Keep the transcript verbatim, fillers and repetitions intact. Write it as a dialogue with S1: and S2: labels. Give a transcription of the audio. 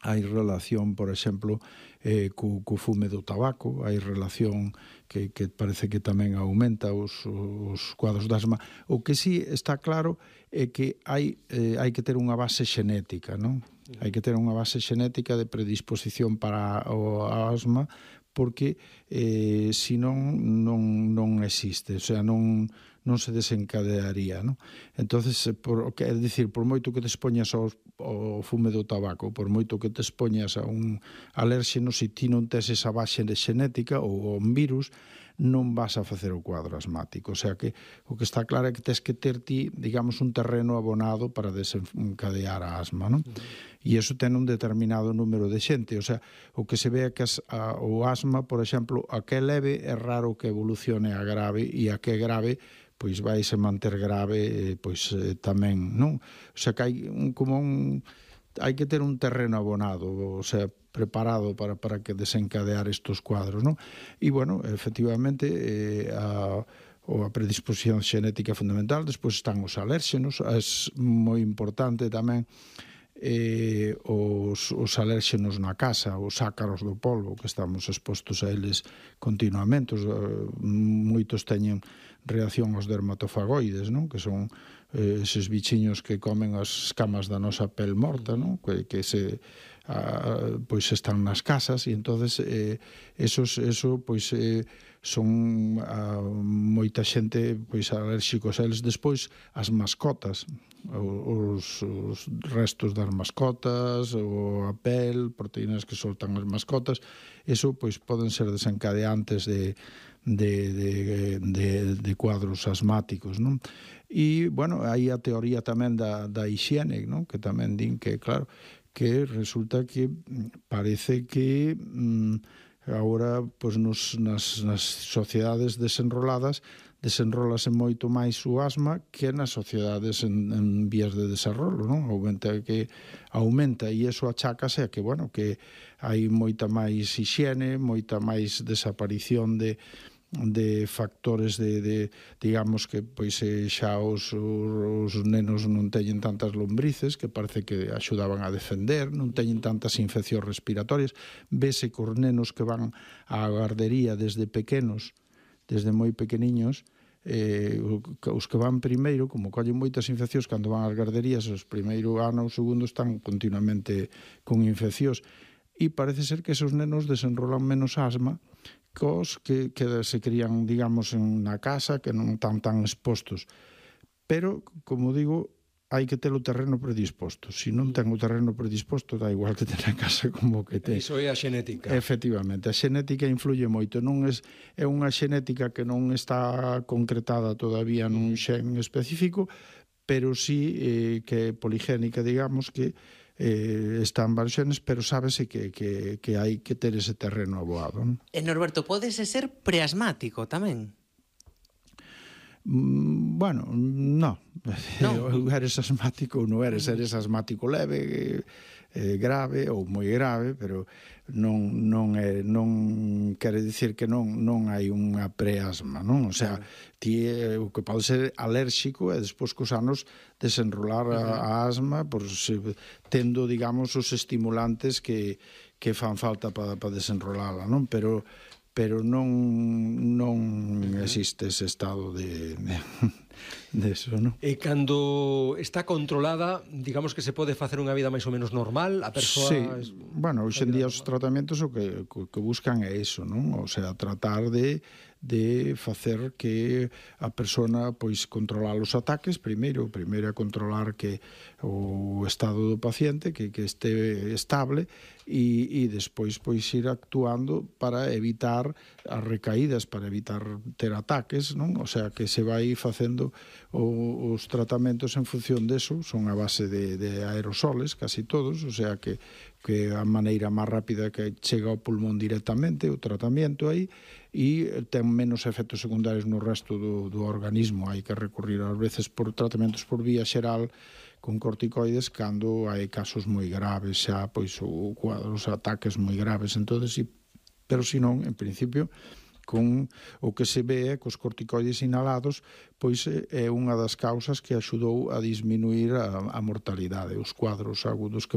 S1: hai relación, por exemplo, eh, co, co fume do tabaco, hai relación que, que parece que tamén aumenta os, os cuadros de asma. O que sí está claro é que hai, eh, hai que ter unha base xenética, non? Hai que ter unha base xenética de predisposición para o asma, porque eh, senón non, non existe, o sea, non, non se desencadearía, non? Entonces, por, é dicir, por moito que te expoñas ao, ao fume do tabaco, por moito que te expoñas a un alérxeno, se ti non tes esa base xenética ou un virus, non vas a facer o quadro asmático. O sea que o que está claro é que tes que ter ti, digamos, un terreno abonado para desencadear a asma, non? E iso ten un determinado número de xente. O sea, o que se ve é que as, a, o asma, por exemplo, a que é leve é raro que evolucione a grave, e a que é grave pois vai se manter grave, pois eh, tamén, non? O sea, que hai un, como un, hai que ter un terreno abonado, o sea, preparado para, para que desencadear estos cuadros, non? E, bueno, efectivamente, eh, a, a predisposición xenética fundamental, despois están os alérxenos, é moi importante tamén eh, os, os alérxenos na casa, os ácaros do polvo, que estamos expostos a eles continuamente. Os, eh, moitos teñen reacción aos dermatofagoides, non? Que son eh, eses bichiños que comen as escamas da nosa pel morta, non? Que, que se a, pois están nas casas, e entonces eh, esos, eso pois eh, son a, moita xente pois alérxicos a eles. Despois as mascotas, os, os restos das mascotas, ou a pel, proteínas que soltan as mascotas, eso pois poden ser desencadeantes de De, de, de, de cuadros asmáticos, non? E, bueno, hai a teoría tamén da, da hixiene, non? Que tamén din que, claro, que resulta que parece que mm, agora, pois, nos, nas, nas sociedades desenroladas desenrolase moito máis o asma que nas sociedades en, en vías de desarrollo, non? Aumenta que aumenta, e iso achácase a que, bueno, que hai moita máis hixiene, moita máis desaparición de de factores de, de digamos que pois xa os, os nenos non teñen tantas lombrices, que parece que axudaban a defender, non teñen tantas infeccións respiratorias. Vese que os nenos que van á gardería desde pequenos, desde moi pequeniños, eh, os que van primeiro, como collen moitas infeccións cando van ás garderías, os primeiro ano ou segundo están continuamente con infeccións, e parece ser que esos nenos desenrolan menos asma cos que, que se crían, digamos, na casa, que non están tan expostos. Pero, como digo, hai que ter o terreno predisposto. Se non ten o terreno predisposto, dá igual que ten a casa como que ten.
S2: Iso é a xenética.
S1: Efectivamente, a xenética influye moito. Non é, é unha xenética que non está concretada todavía nun xen específico, pero sí eh, que é poligénica, digamos, que eh, están varios xenes, pero sábese que, que, que hai que ter ese terreno aboado. Non?
S3: E Norberto, pódese ser preasmático tamén?
S1: Mm, bueno, no.
S3: No.
S1: Eu eres asmático ou non eres, eres asmático leve, eh, grave ou moi grave, pero non non é, non quere dicir que non non hai unha preasma, non? O sea, ti eh, o que pode ser alérxico e despois cos anos desenrolar a, a asma por se, tendo, digamos, os estimulantes que que fan falta para pa desenrolala, non? Pero pero non non existe ese estado de, de, de eso, non?
S2: E cando está controlada, digamos que se pode facer unha vida máis ou menos normal, a persoa...
S1: Sí,
S2: es...
S1: bueno, hoxe en día os tratamentos o que, que buscan é iso, non? O sea, tratar de de facer que a persona pois controlar os ataques primeiro, primeiro é controlar que o estado do paciente que, que este estable e, e despois pois ir actuando para evitar as recaídas, para evitar ter ataques, non? O sea, que se vai facendo o, os tratamentos en función deso, son a base de, de aerosoles, casi todos, o sea que que a maneira máis rápida que chega ao pulmón directamente, o tratamento aí, e ten menos efectos secundarios no resto do, do organismo. Hai que recurrir ás veces por tratamentos por vía xeral con corticoides cando hai casos moi graves xa, pois o cuadros, ataques moi graves, entonces, sí, pero se non, en principio, con o que se ve é que os corticoides inhalados pois é unha das causas que axudou a disminuir a, a mortalidade, os cuadros agudos que